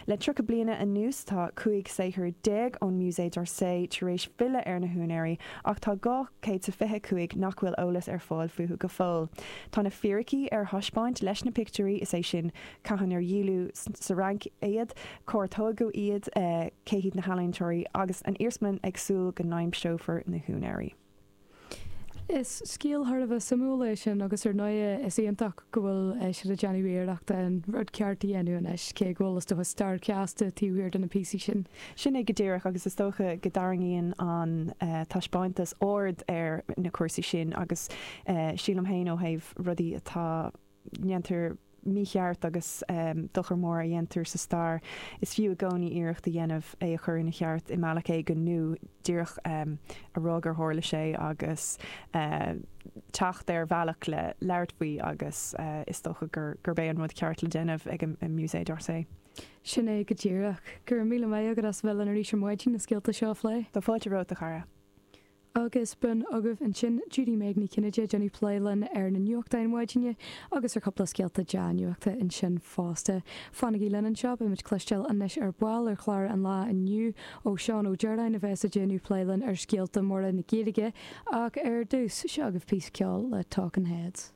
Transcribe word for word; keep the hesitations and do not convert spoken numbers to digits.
Le tríocha bliana anuas tá cúig saothar déag ón Musée d'Orsay tar éis filleadh ar na húinéirí ach tá dhá chéad is fiche cúig nach bhfuil eolas ar fáil fúthu go fóill. Tá na fíricí ar thaispeáint leis na pictiúirí, is é sin cathain ar díoladh sa Fhrainc iad, cár tógadh iad, cé hiad na healaíontóirí agus an iarsmalann ag súil go n-aimseofar na húinéirí. Is scéal thar a bheith suimiúil é sin agus ar ndóigh is iontach go bhfuil siad ag déanamh iarracht an rud ceart a dhéanamh anois, cé go bhfuil is dócha stair chasta taobh thiar de na píosaí sin. Sin é go díreach agus is dócha go dtarraingíonn an taispeántas aird ar na cúrsaí sin agus sílim féin ó thaobh rudaí atá ndéantar mícheart agus dochar mór a dhéantar sa stair, is fiú i gcónaí iarracht a dhéanamh é a chur ina cheart i mbealach éigin nó díreach a rá gur tharla sé agus teacht ar bhealach le labhairt faoi agus is dócha gurb é an rud ceart le déanamh ag an Musée d'Orsay. Sin é go díreach. Go raibh míle maith agat as a bheith linn arís ar maidin na scéalta seo a phlé. Tá fáilte romhat, a chara. Agus b'in agaibh ansin Judy Meg Ní Chinnéide ag déanamh plé linn ar na nuachtáin maidine agus ar chúpla scéalta dea-nuachta ansin fosta. Fanaigí linn anseo, beimid ag cloisteáil anois ar ball ar chlár an lae inniu ó Seán Ó Direáin a bheas ag déanamh plé linn ar scéalta móra na Gaeilge ach ar dtús, seo agaibh píosa ceoil le Talking Heads.